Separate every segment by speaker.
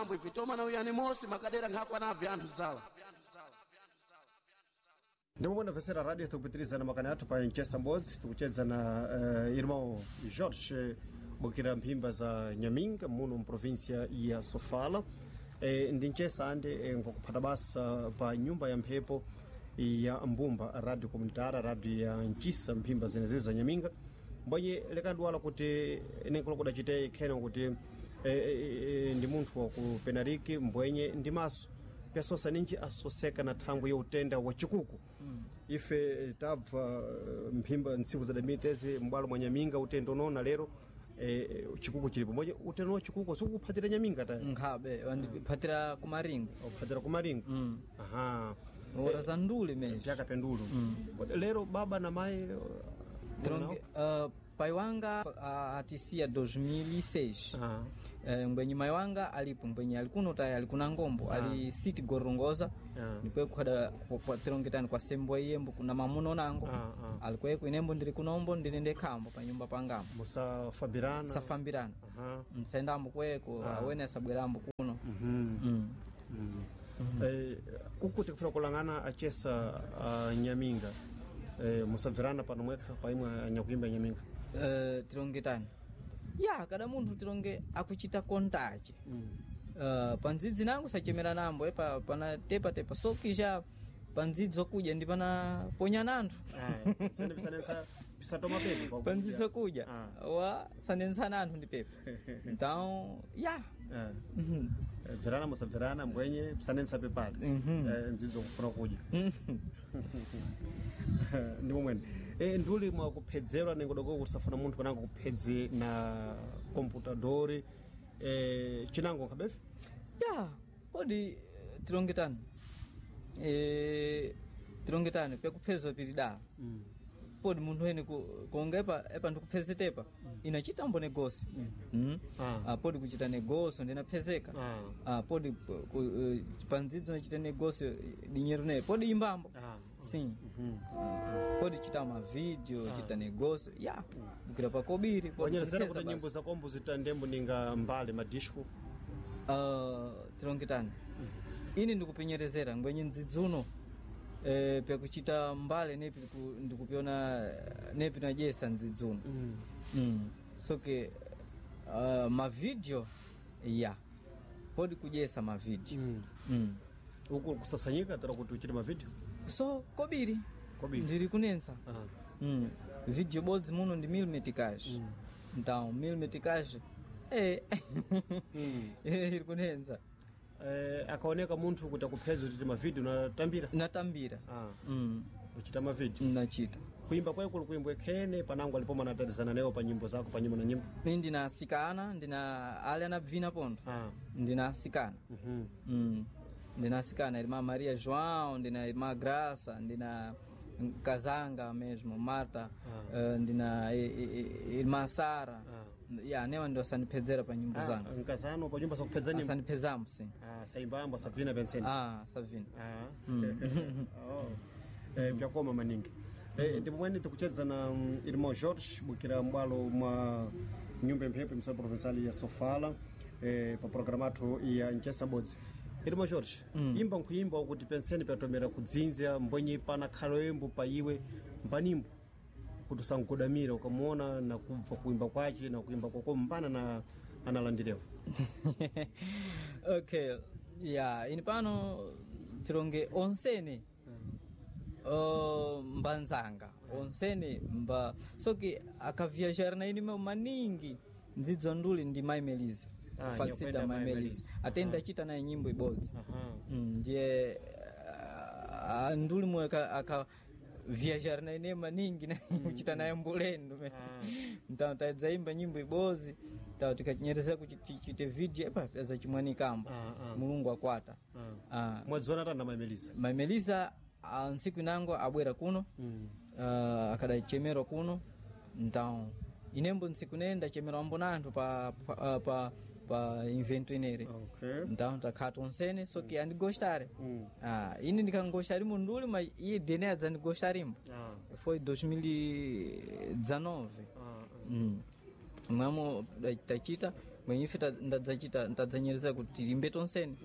Speaker 1: Titomambo ife tomana uyani mosi makadera nkhakwanabve anthu dzala.
Speaker 2: Ndimwe mvesera radio, tikupitirizana makani athu pa Nchesa Mbodzi. Tikuchedza na irmão Jorge Bukira mphimba za Nyaminga muno mprovinsia ya Sofala. Ndi nchesa ande nkukuphata basa pa nyumba ya mphepo ya Mbumba Radio Comunitária, radio ya Nchisa mphimba zenezi za Nyaminga. Mbonye lekadwala kuti nenkulo kudachite khena kuti ndi munthu wa ku Penariki, mbwenye ndi maso pyasosa ninji asoseka na thangwi ya utenda wa chikuku. Ife tabva mphimba ntsiku zadamitezi m'bwalo mwa Nyaminga utenda unoona lero chikuku chilipo mbonye utenda wa chikuku sikukuphatira Nyaminga ta.
Speaker 3: Nkhabe wandiphatira kumaringwe.
Speaker 2: Uphatira kumaringo. Aha.
Speaker 3: Ora za ndule mesmo.
Speaker 2: Pyakapendulu. Kodi lero baba na mai
Speaker 3: Tronque, pai wanga atisia 2006.
Speaker 2: Ah.
Speaker 3: Mbwenye mai wanga alipo, mbwenye alikuno tayi alikuna ngombo ali siti gorongoza. Ndikwe kukhada tilongetani kwa sembwa iyembo kuna mamuno nango. Alikweko inembo ndili kunombo ndili ndekhambo pa nyumba pangambo.
Speaker 2: Musafambirana?
Speaker 3: Safambirana. Msendambo kweko awene asabwerambo kuno.
Speaker 2: Uku tikufuna kulangana achesa Nyaminga, musabvirana pano mwekha paimwe anyakuimba Nyaminga?
Speaker 3: Tilongetani ya kada munthu tilonge akuchita kontache pandzidzi nangu sachemera nambo epa pana tepatepa sokisha pandzidzi okudya ndi pana ponya nanthu.
Speaker 2: Sene pisanensa pisatoma pepe pa
Speaker 3: pandzidzi okudya wa sanensana anthu ndi pepe, então ya.
Speaker 2: Bvirana musabvirana, mbwenye pisanensa pepale ndzidzo kufuna kudya ndi momwene nduli mwakuphedzerwa nengodoko kusafuna munthu panango kuphedze na computadori chinango nkhabefe.
Speaker 3: Ya kodi tilongetani tilongetani pekuphezwa pili dala podi munthu ene konga epa epa ndikuphezetepa inachitambo negoso. Podi kuchita negoso ndinaphezeka. Podi pandzidzo nachita negoso dinyeru ne podi imbambo. Sim. Podi chita mavideo, chita negoso ya bukira pakobiri podi
Speaker 2: wanyerezera
Speaker 3: kupheza
Speaker 2: kuti
Speaker 3: basi.
Speaker 2: Nyimbo zakombo zitandembo ninga mbale madisco.
Speaker 3: Tilongetani ini ndikupenyerezera ngwenye ndzidzuno pyakuchita mbale nepi ndikupiona nepi najesa ndzidzuno. Soke mavideo ya podi kujesa mavideo.
Speaker 2: Uku kusasanyika tera kuti uchite mavideo?
Speaker 3: So kobiri.
Speaker 2: Kobiri.
Speaker 3: Ndiri kunensa. Video bodzi muno ndi milimetrikaji. Então milimetrikaji iri kunensa.
Speaker 2: Akaoneka munthu kuti akuphedza uchite mavideo natambira?
Speaker 3: Natambira.
Speaker 2: Uchita mavideo?
Speaker 3: Nachita.
Speaker 2: Kuimba kwayo kuli kuimbwe khene panango alipo manatatizana nayo pa nyimbo zako pa nyimbo na nyimbo?
Speaker 3: Mi ndina asikana, ndina ale anabvina pondo. Ndina asikana. Ndina asikana irmã Maria João, ndina irmã Graça, ndina Kazanga mesmo Marta, ndina irmã Sara. Ya newa ndo asandiphedzera pa nyimbo zanga.
Speaker 2: Nkazano pa nyumba sakuphedza nyimbo?
Speaker 3: Asandiphedzambo sim.
Speaker 2: Saimbambo asabvina penseni?
Speaker 3: Sabvina.
Speaker 2: Oh. Pyakoma maningi. Ndipo mwene tikuchedza na irmão Jorge Bukira mbwalo mwa nyumba ya mphepo imsa provincial ya Sofala pa programa athu ya Nchesa Bodzi. Irmão Jorge, imba nkuimba kuti penseni pyatomera kudzinza mbwenye pana khalo yembo pa iwe mpanimbo kuti usangodamira ukamuona na kubva kuimba kwace na kuimba kwako mpana na analandirewa.
Speaker 3: Okay, ya ini pano tilonge onsene mbanzanga onsene mba soki akaviajar na ini meu maningi ndzidzo nduli ndi Mai Melisa. Falsita.
Speaker 2: Nyakwenda
Speaker 3: Mai
Speaker 2: Mai
Speaker 3: Melisa.
Speaker 2: Melisa.
Speaker 3: Ate ndachita naye nyimbo ibodzi. Ndiye nduli mwe aka viajar na ine maningi na kuchita naye mbulendo mtao tadzaimba nyimbo ibodzi tao tikachinyereza kuti tichite video epa zacimwanikamba. Mulungu akwata.
Speaker 2: Mwadziona tana Mai Melisa?
Speaker 3: Mai Melisa ntsiku inango abwera kuno akadachemerwa kuno, então inembo ntsiku nene ndachemerwa ambo na anthu pa invento inere. Então takhala tonsene soki andigostare. Ini ndikangostarimo nduli ma iye dene adzandigostarimbo. Foi 2019. Mwamo tachita. Mwenye ife ndadzachita ndadzanyereza kuti tilimbe tonseni.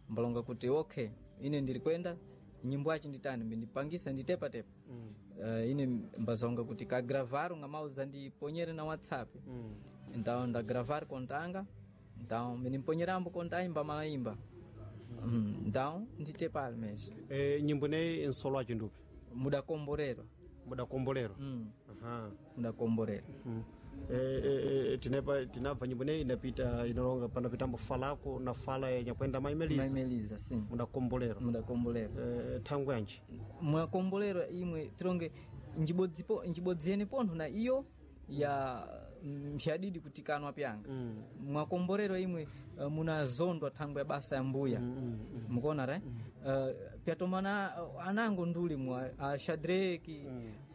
Speaker 3: Mbalonga kuti okay, ine ndiri kwenda nyimbo achi nditani mbindipangisa nditepatepa. Ine mbazonga kuti kagravaro ngamauza ndiponyere na WhatsApp. Então ndagravar kontanga, então mbindimponyerambo kontaimba malaimba. Então nditepali mesmo.
Speaker 2: Nyimbo ineyi nsolo achi ndupi?
Speaker 3: Mudakomborerwa.
Speaker 2: Mudakomborerwa. Aha.
Speaker 3: Mudakomborerwa.
Speaker 2: Tinepa tinabva nyimbo ineyi inapita inalonga panapitambo falako na fala yenyakwenda maimeliza.
Speaker 3: Maimeliza sim.
Speaker 2: Mudakomborerwa.
Speaker 3: Mudakomborerwa.
Speaker 2: Thangwe yanji?
Speaker 3: Mwakombolero imwe tironge njibodzipo njibodziyeni pontho na iyo ya mphyadidi kutikanwa pyanga. Mwakomborero imwe munazondwa thangwe ya basa ya mbuya. Mukuona ra? Pyatomana anango nduli mwa a Shadraki,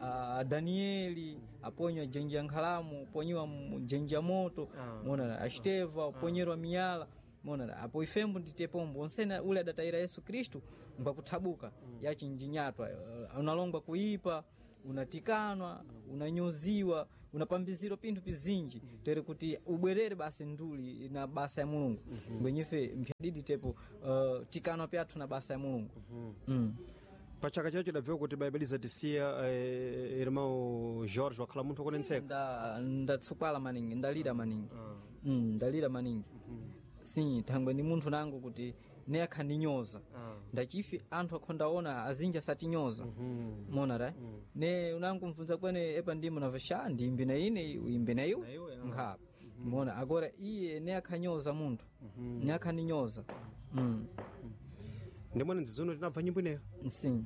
Speaker 3: a Danieli aponywa jenji ya nkhalamu, ponyiwa jenji ya moto. Muona a Steva aponyerwa miyala. Mona apo ifembo nditepombo onsena ule adatayira Yesu Kristu ngwakuthabuka yachinjinyatwa, unalongwa kuipa, unatikanwa, unanyuziwa, unapambizirwa pinthu pizinji tere kuti ubwerere basi nduli na basa ya Mulungu. Ngwenyefe mphyadidi tepo tikanwa pyathu na basa ya Mulungu.
Speaker 2: Pachaka chacho dabviwa kuti baibeliza tisiya irmão Jorge wakhala munthu wakonetseka.
Speaker 3: Ndatsukwala maningi, ndalira maningi. Ndalira maningi. Sim, thangwe ndi munthu nangu kuti ne akhandinyoza. Ndachifi anthu akhondaona azinji asatinyoza. Mona ra? Ne unangu mvunza kwene epa ndimo nava sha ndimbi na ine uimbe na iwe nkhapa. Mona agora iye ne akhanyoza munthu. Ne akhandinyoza.
Speaker 2: Ndimwene ndzizono tinabva nyimbo ineyo.
Speaker 3: Sim.